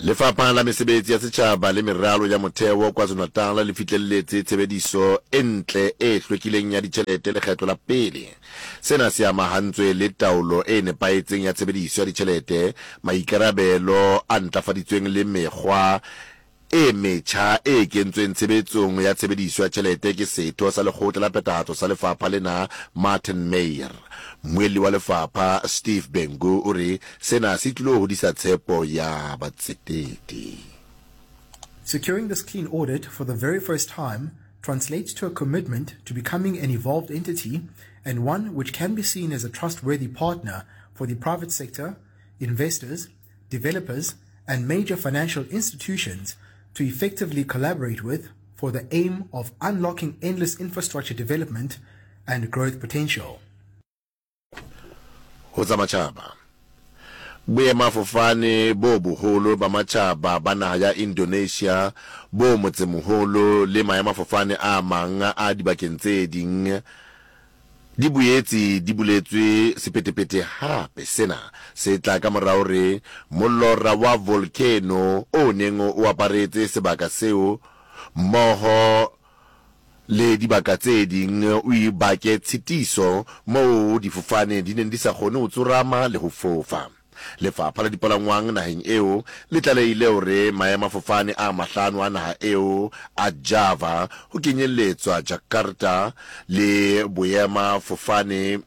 Lefapha la Mesebetsi ya Setjhaba le Meralo ya Motheo KwaZulu-Natal le fihlelletse tshebediso e ntle e hlwekileng ya ditjhelete lekgetlo la pele. Sena se amahantswe le taolo e nepahetseng ya tshebediso ya ditjhelete, maikarabelo a ntlafaditsweng le mekgwa e metjha e kentsweng tshebetsong ya tshebediso ya tjhelete ke setho sa lekgotla la phethahatso sa lefapha lena Martin Meyer. Mmuelli wa lefapha Steve Bhengu o re sena se tlilo hodisa tshepo ya batsetedi. Securing this clean audit for the very first time translates to a commitment to becoming an evolved entity and one which can be seen as a trustworthy partner for the private sector, investors, developers and major financial institutions to effectively collaborate with for the aim of unlocking endless infrastructure development and growth potential. Ho tsa matjhaba. Boemafofane bo boholo ba matjhaba ba naha ya Indonesia bo motsemoholo le maemafofane a mang a dibakeng tse ding di boetse di buletswe sephethephethe hape. Sena se tla ka mora hore molora wa volcano o neng o aparetse sebaka seo mmoho le dibaka tse ding o bake tshitiso moo difofane di neng di sa kgone ho tsorama le ho fofa. Lefapha la dipalangwang naheng eo le tlalehile hore maemafofane a mahlano a naha eo a Java, ho kenyelletswa Jakarta le boemafofane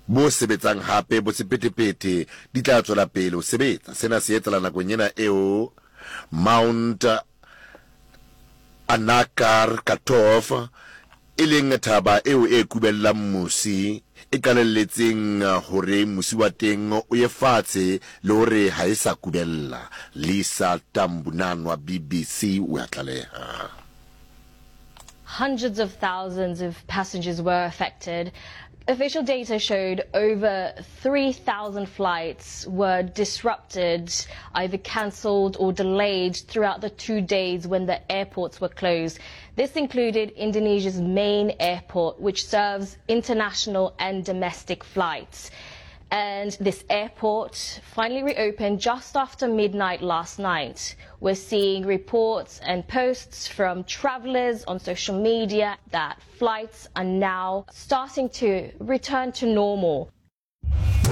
bo sebetsang hape bo sephethephethe di tla tswela pele ho sebetsa. Sena se etsahala nakong ena eo Mount Anakar Katov, e leng thaba eo e kubellang mosi, e qalelletseng hore mosi wa teng o ye fatshe le hore ha e sa kubella. Lisa Tambunan wa BBC o a tlaleha. Hundreds of thousands of passengers were affected. Official data showed over 3,000 flights were disrupted, either cancelled or delayed throughout the two days when the airports were closed. This included Indonesia's main airport, which serves international and domestic flights. And this airport finally reopened just after midnight last night. We're seeing reports and posts from travelers on social media that flights are now starting to return to normal.